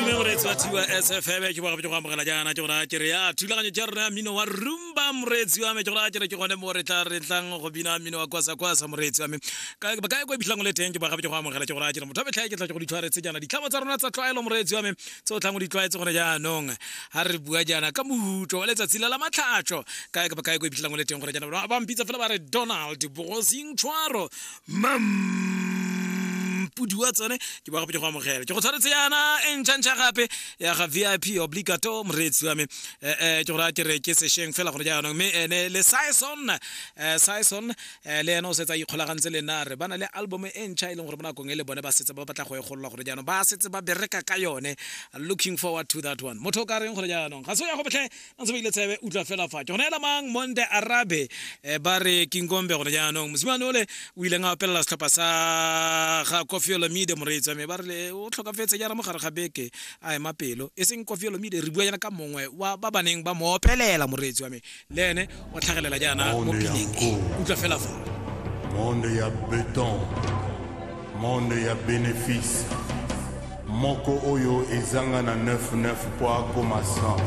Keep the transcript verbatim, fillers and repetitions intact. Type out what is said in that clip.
Madume moreetsi wa T Y S F M, ke bogape ke go amogela jaana. Ke gora ke re ya thulaganyo tša rona ya mmino wa rumba, moreetsi wa me. Ke gora ke re ke gone mo re tla re tlang go bina mmino wa kwasa kwasa, moreetsi wa me. Kae kae ko e bitlhang o le teng? Ke bogape ke go amogela. Ke gora ke re motho wa metlha, ke tla ke go ditlhwaretse jaana ditlhamo tsa rona tsa tlwaelo, moreetsi wa me, tse o tlang o di tlwaetse gone jaanong. Ga re bua jaana ka mohuto wa letsatsi la la matlhatso, kae kapa kae ko e bitlhang o le teng gore jaana ba mpitsa fela ba re Donald Bogosing Tshwaro Mampudi wa tsone. Ke bogape ke go amogela, ke go tshwaretse jaana e ntšha-ntšha gape ya ga V I P Obligato, moreetsi wa me. eh, eh, ke gore ke re ke sešweng fela gore jaanong, mme ene le Sison, eh, Sison eh, le ene o setse a ikgolagantse le nna. Re ba na le album e ntšha e leng gore mo nakong e le bone ba setse ba batla go e golola gore jaanong ba setse ba bereka ka yone. Looking forward to that one. Motho o ka reng gore jaanong ga se o ya go botlhe ntse ba ile tsebe. Utlwa fela fa ke go neela mang Monde Arabe, eh, ba re Kingombe gore jaanong mosimane ole o ileng a opelela setlhopha sa ga Koffi Olomide, moreetsi wa me, ba re le o tlhokafetse jaana mo gare ga beke a ema pelo. E seng Koffi Olomide, re bua jaana ka mongwe wa ba ba neng ba mo opelela, moreetsi wa me. Le ene o tlhagelela jaana mo Monde ya pineng e. nko. Utlwa fela fa. Monde ya beton, monde ya bénéfice moko oyo ezanga na quatre-vingt-dix-neuf po akoma cent.